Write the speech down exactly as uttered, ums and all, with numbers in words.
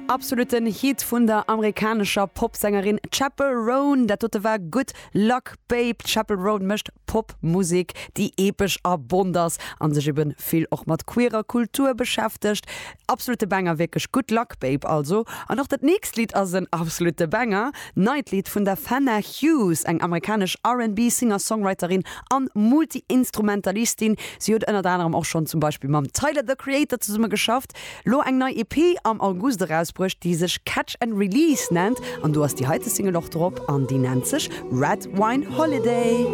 Absoluten Hit vun der amerikanescher Popsängerin Chappell Roan. Dat dote war Good Luck Babe. Chappell Roan mécht Popmusek, déi epesch a bont ass an sech eben vill och mat queerer Kultur beschäftegt. Absolute Banger wierklech Good Luck Babe also. An och dat nächst Lidd ass en absolute Banger. Neit Lidd vun der Fenna Hughes, eng amerikanesch R and B Singer-Songwriterin an Multi-Instrumentalistin. Si huet ënnert anerem och schonn zum Beispill mam Tyler the Creator zesumme geschafft. Lo eng nei E P am August erausbruecht, déi sech Catch and Release nennt an do ass déi heite Single och drop an déi nennt sech Red Wine Holiday.